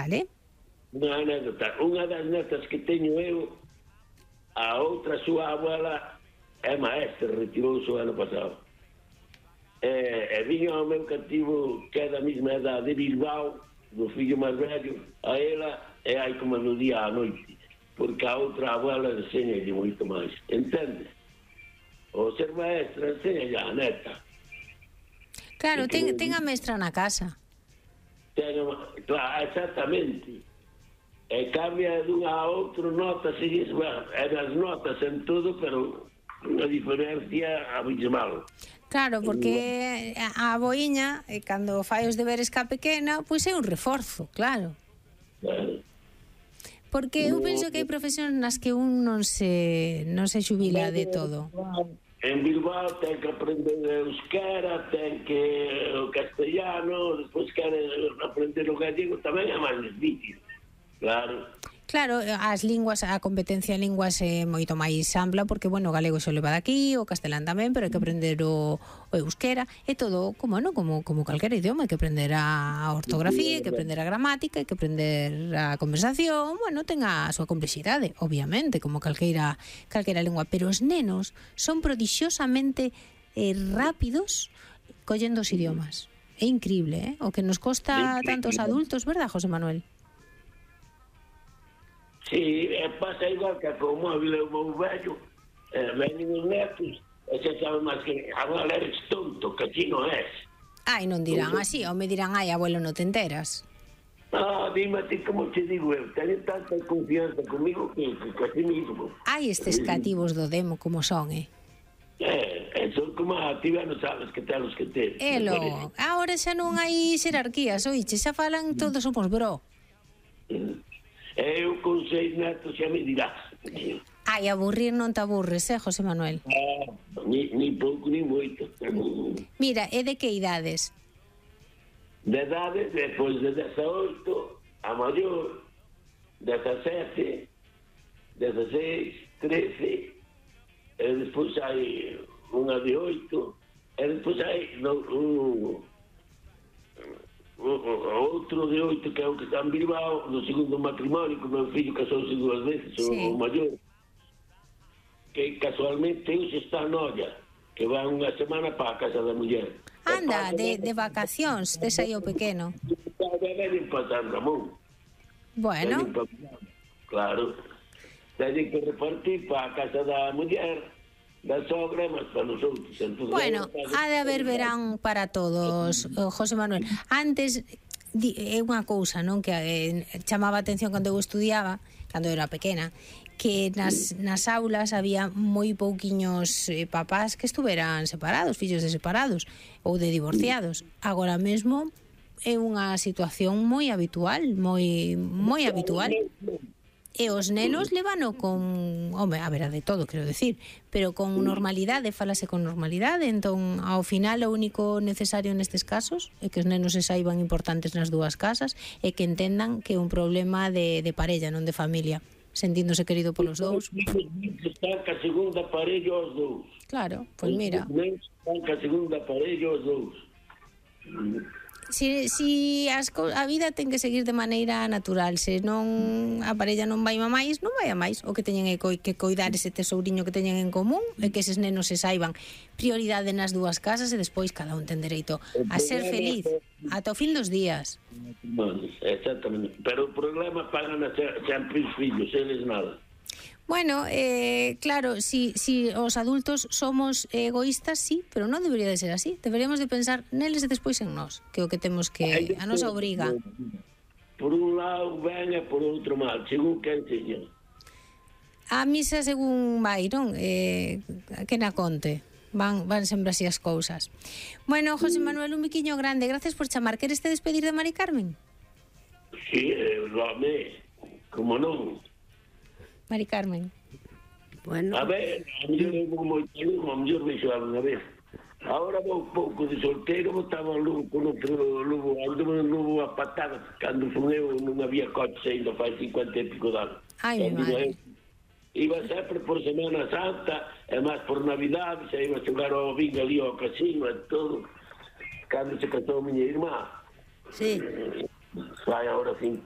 Vale. Unha anécdota. Unha das netas que teño eu, a outra súa abuela é maestra, retirouse o ano pasado. E viña ao meu cativo que é da mesma edad de Bilbao, do fillo máis vello, a ela e hai como no día á noite, porque a outra abuela enseñalle moito máis, entende? O ser maestra enseñalle a neta. Claro, ten a mestra na casa. Claro, exactamente. E cambia dunha a outro, notas e as notas en todo, pero unha diferencia abismal. Claro, porque a aboiña, cando fai os deberes ca pequena, pois é un reforzo, claro. Porque eu penso que hai profesións nas que un non se xubila de todo. En Bilbao ten que aprender euskera, ten que o castellano, despois quere aprender o gallego, tamén é máis difícil, claro. Claro, as linguas, a competencia en linguas é moito máis ampla porque, bueno, o galego se o leva daqui, o castelán tamén, pero hai que aprender o euskera, é todo como calquera idioma, hai que aprender a ortografía, hai que aprender a gramática, hai que aprender a conversación, bueno, ten a súa complexidade, obviamente, como calquera lingua, pero os nenos son prodixiosamente rápidos collendo os idiomas. É increíble, o que nos costa tantos adultos, verdad, José Manuel? Sí, pasa igual que con o móvil é o meu vello, venen os netos, e se sabe máis que agora eres tonto, que ti non és. Ai, non dirán así, ou me dirán, ai, abuelo, non te enteras. Dime a ti como te digo eu, teño tanta confianza comigo que así mismo. Ai, estes cativos do demo como son, Son como a ti non sabes que telos que ter. Elo, agora xa non hai xerarquías, oiche, xa falan todos somos bro. Eu con 6 netos xa me dirás. Ai, aburrir non te aburres, José Manuel? Ni pouco, ni moito. Mira, e de que idades? De edades, depois de 18, a maior, 17, 16, 13, e despois hai unha de 8, e despois hai outro de 8 que é o que está en Bilbao, no segundo matrimonio, que o meu fillo casouse 2 veces, o maior, que casualmente hoxe está en Olla, que va unha semana para a casa da muller. Anda, de vacacións, tes aí o pequeno. Veñen para San Ramón. Bueno. Claro. Teñen que repartir para a casa da muller, da sogra, mas para nos outros. Bueno, ha de haber verán para todos, José Manuel. Antes, é unha cousa, non, que chamaba a atención cando eu estudiaba, cando eu era pequena, que nas aulas había moi pouquiños papás que estuveran separados, fillos de separados ou de divorciados. Agora mesmo é unha situación moi habitual, moi habitual. E os nenos levano con, home, a ver, de todo, quero decir, pero con normalidade, falase con normalidade, entón, ao final, o único necesario nestes casos é que os nenos se saiban importantes nas dúas casas e que entendan que é un problema de parella, non de familia, sentíndose querido polos dous. Están ca segunda parella os dous. Claro, pois mira. Están ca segunda parella os dous. Si a vida ten que seguir de maneira natural, se non a parella non vai a máis, non vai a máis. O que teñen é que coidar ese tesouriño que teñen en común e que eses nenos se saiban prioridade nas dúas casas e despois cada un ten dereito a ser feliz ata o fin dos días. Exactamente, pero o problema pagan sempre os fillos, eles nada. Bueno, claro, si os adultos somos egoístas, sí, pero non debería de ser así. Deberíamos de pensar neles e despois en nós, que é o que temos que a nosa obriga. Por un lado ben e por outro mal, según quen señor. A misa según vai, non? Que na conte. Van sempre así as cousas. Bueno, José Manuel, un biquiño grande. Gracias por chamar. Queres te despedir de Mari Carmen? Sí, como non. Mari Carmen. Bueno. A ver, a mellor eu vou moito lume, a mellor vexo alguna vez. Agora vou pouco de solteiro, botaba lume con outro lume, andou un lume a patada, cando fun eu non había coche ainda fai 50 e pico de anos. Ai, mi madre. Iba sempre por Semana Santa, e máis por Navidade, se iba a xogar ao bingo ali ao casino e todo, cando se casou a miña irmá. Sí. Fai agora 50